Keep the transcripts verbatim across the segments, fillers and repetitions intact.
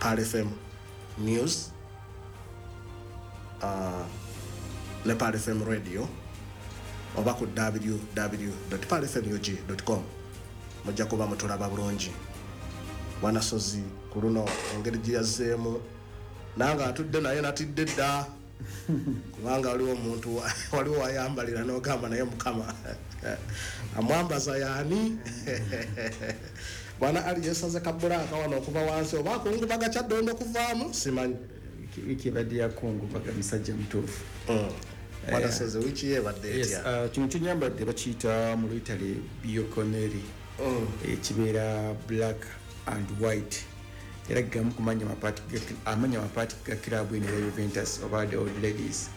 Pearl F M News uh, ne Pearl F M Radio oba ku W W W pearlfmug com, mujja kuba mutulaba bulungi. Bwana Sozi, ku luno engeri gye yazzeemu nange atudde naye natidde dda, kubanga waliwo omuntu waliwo wayambalira n'ogamba, "Naye Mukama amwambaza yaani?" Bwana Ali yesaze kabulaaka wano okuva wansi oba akungubaga Kyaddondo okuvaamu, simanyi. Wiiki ebadde yakungubaga musajja mutuufu. Bwana Sozi, wiiki ye ebadde Yes, etya? uh, kino kyenyambadde bakiyita mu Lwitale bianconeri, ekibeera black and white, era gamu kumanya mapaati ga- amanya mapaati ga club eno eya Juventus oba the Old Ladies.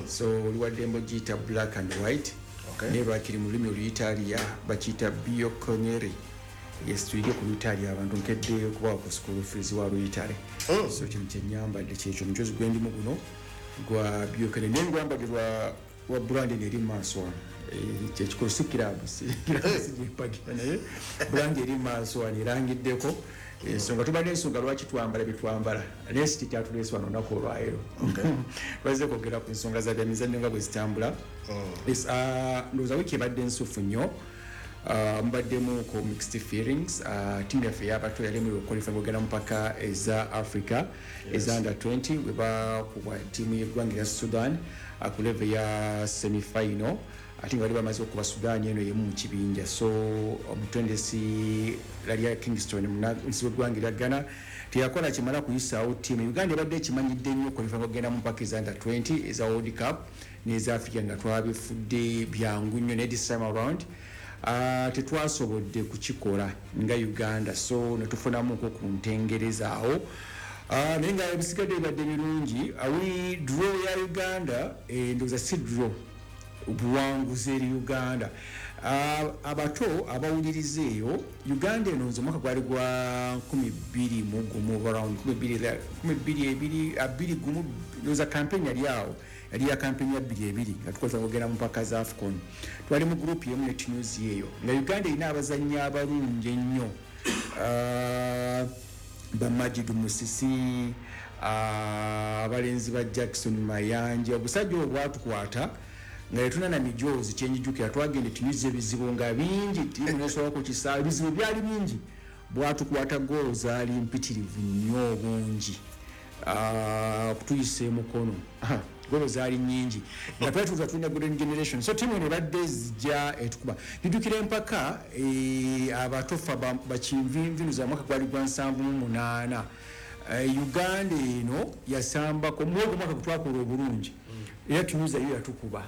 So oli waddembe ogiyita black and white, Okay. naye lwakiri mu lulimi Oluyitalia bakiyita bianconeri. Yes, tuyige ku Luyitalia, abantu nkedde okubawa ku school fees wa Luyitale. So kino kyenyambadde kyekyo, omujozi gwendimu guno gwa bianconeri, naye ngwambadde lwa lwa brand eno eri maaso wano. Eh, kyekikulu si club, si club sigimpagira, naye brand eri maaso wano erangiddeko ensonga. Tubadde ensonga lwaki twambala byetwambala, naye si kikyatuleese wano olunaku olwaleero. Twazze kwogera ku nsonga za byamizannyo nga bwe zitambula. Yes, ah, ndowooza wiiki ebadde nsufu nnyo. Uh, mubaddemu ko mixed feelings. uh, tiimu yaffe ey'abato yalemererwa okuqualify okugenda mu mpaka eza Africa eza under twenty, bwe bakubwa ttiimu y'eggwanga erya Sudan uh, ku level ya semifinal, ate nga bali bamaze okuba Sudan eno yemu mu kibinja. So omutendesi Laryea Kingston, munansi w'eggwanga erya Ghana, teyakola kimala kuyisaawo ttiimu. Uganda ebadde ekimanyidde nnyo okuqualify okugenda mu mpaka eza under twenty eza World Cup n'eza Africa, nga twabifudde byangu nnyo, naye this time around Uh, tetwasobodde kukikola nga Uganda, so netufunamuko ku ntengereza awo. uh, naye nga ebisigadde bibadde birungi. uh, draw ya Uganda, eh, ndowooza si draw, buwanguzi eri Uganda. uh, abato abawuliriza eyo, Uganda eno nze omwaka gwali gwa nkumi bbiri mu gumu, around nkumi bbiri ebiri abiri gumu, ndowooza campaign yali awo, yali ya campaign ya bbiri ebiri nga tukozesa kugenda mu mpaka za AFCON. Twali mu group emu ne Tunisia eyo, nga Uganda erina abazannyi abalungi ennyo, uh, ba Majid Musisi, uh, abalenzi ba Jackson Mayanja. Obusajja obwo bwatukwata nga tetuna na mijoozi. Kyenjijukira, twagenda Tunisia, ebizibu nga bingi, tiimu nesobola ku kisaawe, ebizibu byali bingi, bwatukwata, goolo zaali mpitirivu nnyo obungi, okutuyisa emukono, golo zaali nyingi, nga twali tuza tulina golden generation. So tiimu eno ebadde zijja etukuba. Njijukira empaka eh, abatofa bakinvinvinu za mwaka gwali gwa nsanvu mu munaana. Eh, uganda eno yasambako mwogwo mwaka gwe twakola obulungi, era Tunisia yo yatukuba,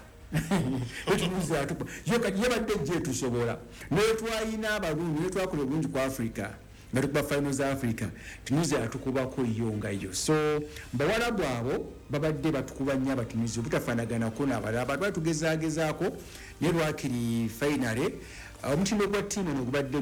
Tunisia yatukuba yo. Kati yabadde ejja etusobola, naye twalina abalungi, naye twakola obulungi ku Africa nga tukuba final za Africa, Tunisia yatukubako yo nga yo. So bawalabu abo babadde batukuba nnyo Abatunisia, obutafaanaganako n'abalala abantu bali tugezagezaako, naye lwakiri finally omutindo gwa ttiimu eno gubadde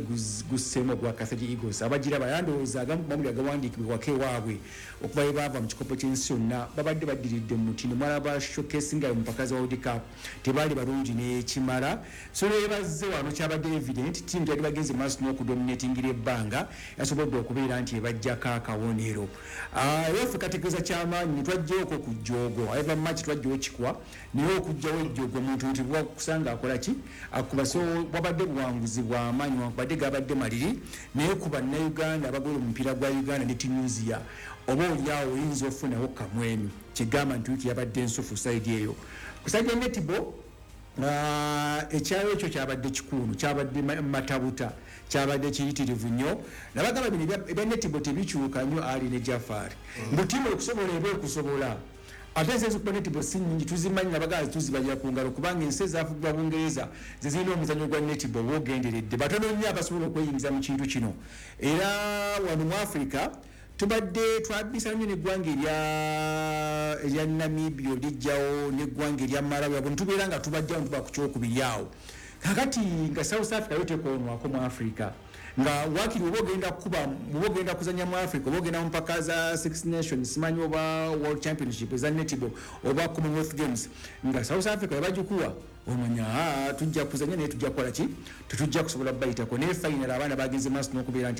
gusseemu ogwa Carthage Eagles. Abagira bayandowooza agamu ku mawulire agawandiikibwako ewaabwe okuva bwe baava mu kikopo ky'ensi yonna, babadde baddiridde mu mutindo. Mwalaba showcase nga mu mpaka za World Cup tebaali balungi n'ekimala. So nebazze wano kyabadde evident, ttiimu gyali bagenze maaso n'okudominatingira ebbanga yasobodde okubeera nti ebajjako akawonero. Era ffe kategeeza kyamaanyi netwajjaoko ku jjoogo eva maki, twajjawo kikwa, naye okugjawo ejjoogo omuntu nti bwakusanga akola ki akuba. So bwabadde buwanguzi bwamaanyi, wankubadde gabadde maliri, naye ku Bannayuganda abagole omupiira gwa Uganda ne Tunisia, oba oliawo oyinza ofunawo kamwenyu kigamba nti wiiki yabadde ensufu side eyo. Ku side ya netball, ekyayo ekyo kyabadde kikuunu, kyabadde matabuta, kyabadde kiyitirivu nnyo. Nabagamba bino ebya netball tebikyuka nnyo. Ali ne Jafari mbu tiimu okusobola eba ekusobola, ate ensi ezikuba netball si nyingi, tuzimanyi, nabagala tuzibalira ku ngalo, kubanga ensi ezafugibwa Bungereza zezirina omuzanyo gwa netball bwogenderedde, batono nnyo abasobola okweyingiza mu kintu kino. Era wano mu Africa tubadde twabisa nnyo neggwanga erya Namibia, olijjawo neggwanga erya Malawi, abo ntubeera nga tubajjawo ntuba ku kyokubiri awo. Kakati nga South Africa yo tekonwako mu Africa, nga wakiri oba ogenda kukuba, oba ogenda kuzanya mu Africa, oba ogenda mu mpaka za Six Nations, simanyi oba World Championship eza netball oba Commonwealth Games, nga South Africa webagikuwa omanya tujja kuzanya, naye tujja kukola ki, tetujja kusobola bayitako. Naye final abaana bagenze maaso n'okubeera nti